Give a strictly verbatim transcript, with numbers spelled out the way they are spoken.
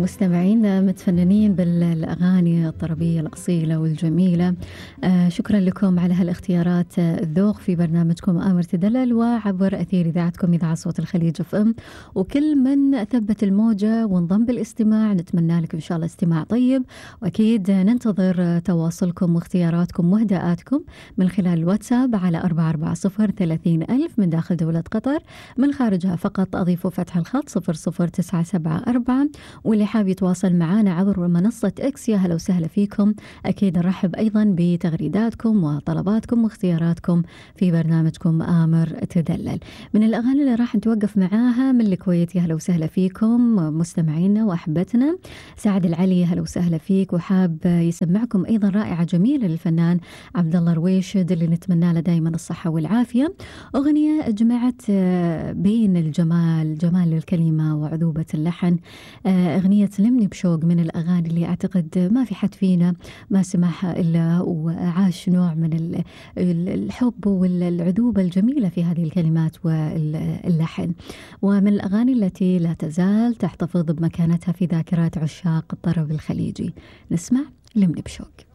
مستمعينا متفننين بالأغاني الطربية الأصيلة والجميلة. آه شكرا لكم على هالاختيارات الذوق في برنامجكم آمر تدلل وعبر أثير إذاعتكم إذاعة صوت الخليج اف ام. وكل من ثبت الموجة وانضم بالاستماع نتمنى لكم إن شاء الله استماع طيب، وأكيد ننتظر تواصلكم واختياراتكم واهداءاتكم من خلال الواتساب على أربعة أربعة صفر ثلاثين ألف من داخل دولة قطر، من خارجها فقط أضيفوا فتح الخط صفر صفر تسعة سبعة أربعة. واللي حاب يتواصل معنا عبر منصة إكس يا هلا وسهلا فيكم. أكيد نرحب أيضا بتغريداتكم وطلباتكم واختياراتكم في برنامجكم آمر تدلل. من الأغاني اللي راح نتوقف معاها من الكويت يا هلا وسهلا فيكم مستمعينا وأحبتنا. سعد العلي هلا وسهلا فيك، وحاب يسمعكم أيضا رائعة جميلة للفنان عبد الله رويشد اللي نتمنى له دائما الصحة والعافية. أغنية جمعت بين الجمال جمال الكلمة وعذوبة اللحن. أغنية لمني بشوق من الأغاني اللي أعتقد ما في حد فينا ما سمعها إلا وعاش نوع من الحب والعذوبة الجميلة في هذه الكلمات واللحن، ومن الأغاني التي لا تزال تحتفظ بمكانتها في ذاكرات عشاق الطرب الخليجي. نسمع لمني بشوق.